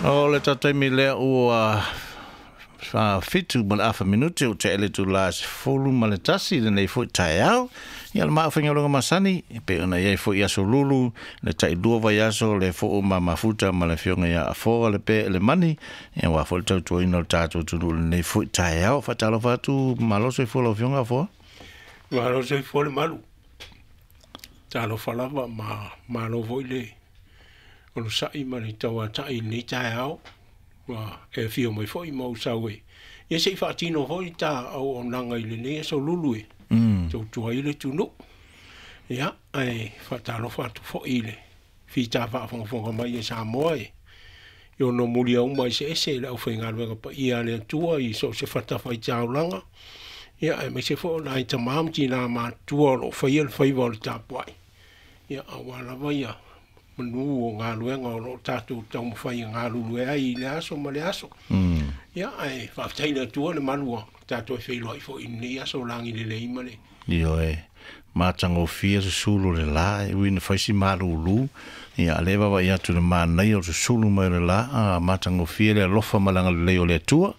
O le taimi lea ua 7:30 minute o te ele tu la 11 lenei foi taeao. Ia le maafaigaluega masani e pei ona iai foi aso lulu le tailua vaiaso le foo ma mafuta ma le afioga ia Afoa le pe le mani ia ua foi le tautuaina o le tatou atunuu lenei foi taeao. Faatalofa atu, malo soifua lau afioga Afoa. Malo soifua le malu. Talofa lava ma malo foi le onosai ma le tauatai i lenei taeao. Ua e afio mai foi ma ou sau e ia se i faatino foi ta auaunaga i lenei aso lulu e tautua ai le atunuu. Ia, ae faatalofa atu foi i le fita faafogafoga mai e Samoa e i ono muliauma eseese i le aufaigaluega paia a le Atua i so o se fatafaitaulaga. Ia, aemaise foi o nai tama ma tinā matutua o lo o faia le faiva o le tapuai. Ia, aua lava ia manu o galuega o lo o tatou taumafai e galulue ai i le aso ma le aso. Ia, ae faafetai i le Atua le malu ua tatou e feiloai foi i lenei aso lagi lelei ma le Ioe, matagofie susulu o le la, e ui ina fai si malūlū, ia a lea e vaavaai atu i le manaia o le susulu mai o le la, a matagofie le alofa ma le agalelei o le Atua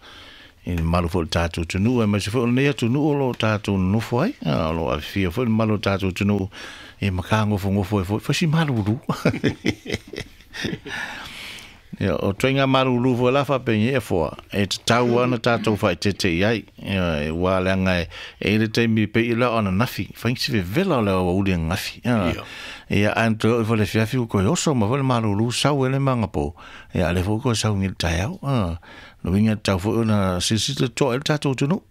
i le mamalu foi o le tatou atunuu, aemaise foi o lenei atunuu o lo o tatou nonofo ai, o lo o afifio foi le mamalu o le tatou atunuu e matagofogofo ai foi, fai si malūlū. Ia, o ituaiga malūlū foi la faapenei e foa, e tatau lava ona tatou faaeteete i ai. Ia, aua leaga e i ai le taimi pei la o ananafi, fai si vevela o le aoauli ananafi. Ia, ia ae na toe oo ifo i le afiafi ua toe oso mai foi le malūlū sau ai le magapō, ia a o lea foi ua toe sau nei i le taeao. Lona uiga e tatau foi ona silasila totoa i ai le tatou atunuu.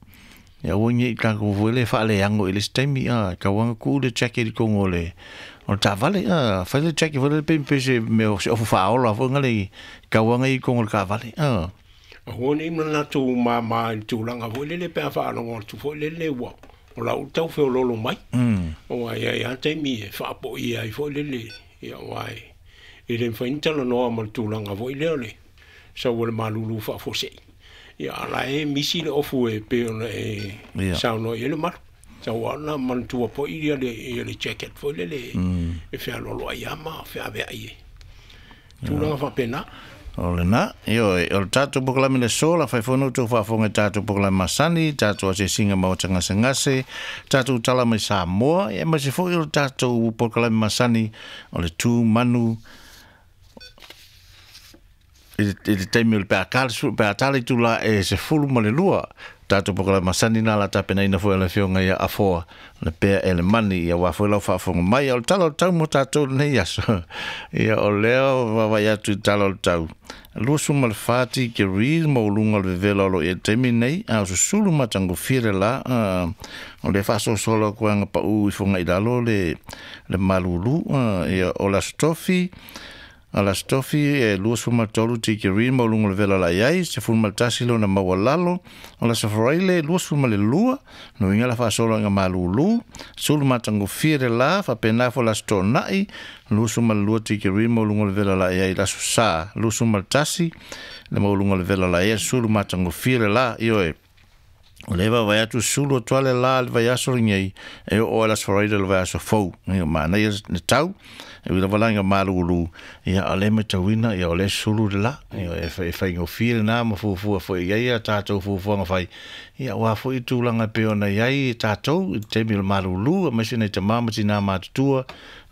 Ia aua ne i tatou foi le faaleano i le isi taimi, a, e tatau lava ona tuu le jacket i totonu o le o le taavale, a, fai le jacket foi lele pei pei se mea o se ofu faaola foi na le e tatau lava ona i ai i totonu o le taavale, a. Aua ne i manatu mama i le tulaga foi lele pe a faalogo atu foi lele ua o la ua tau feoloolo mai. Aua e i ai lava taimi e faapoia ai foi lele, ia aua e le mafai ona talanoa ma le tulaga foi lea o le sau o le malulu faafuasei. Ia a o la e misi le ofu e pei ona e saunoa i ai le malu. Tau lava ona manatua foi ia le jacket foi lele e fealoaloai lava ma feaveai ai. Tulaga faapena. O lena, ioe, o le tatou polokalame i le aso, la fai foi ona outou faafofoga i tatou polokalame masani, tatou asiasiga maota gasegase, tatou tala mai Samoa, ia aemaise foi o le tatou polokalame masani o le tu manu i le taimi o le pe a pe a tala itula e 12 tatou polokalame masani na la tapenaina foi e le afioga ia Afoa le pea e le mani ia aua foi lau faafofoga mai. O le tala o le tau mo tatou lenei aso, ia o lea vaavaai atu i le tala o le tau 24 degrees maualuga o le vevela o lo o i ai i le taimi lenei, a o susulu matagofie le la, o lea faasolosolo atu ai pau ifo agai i lalo le malulu. Ia o le aso Tofi, a le Aso Tofi e 23 tikeri maualuga o le vela la i ai, 11 lona maualalo. O le Aso Faraile 22, no uiga la faasolo ina malūlū, sulu matagofie le la, faapena foi le Aso Toonai, 22 tikeri maualuga o le vela la i ai, le Aso Sa, 21 le maualuga o le vela la i ai, sulu matagofie le la, ioe. O lea e vaavaai atu sulu atu lava le la i le vaiaso lenei e oo ai le Aso Faraile o le vaiaso fou. Ia manaia le tau, e ui lava la ina malūlū, ia a o lea e matauina ia o lea e sulu le la. Ia e faigofie lena ma fuafua foi i ai a tatou fuafuaga fai, ia aua foi tulaga e pei ona i ai tatou i le taimi o le malūlū, aemaise nai tama ma tinā matutua,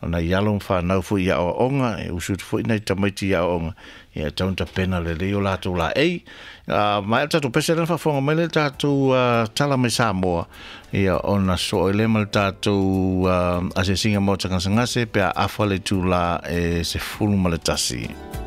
o nai alo ma fanau foi i aoaoga, e usu atu foi nai tamaiti i aoaoga, ia e tatau ona tapena lelei o latou laei. Maea le tatou pese lea ona faafofoga mai lea i le tatou tala mai Samoa, ia ona sosoo ai lea ma le tatou asiasiga maota gasegase pe a afa le itula e 11.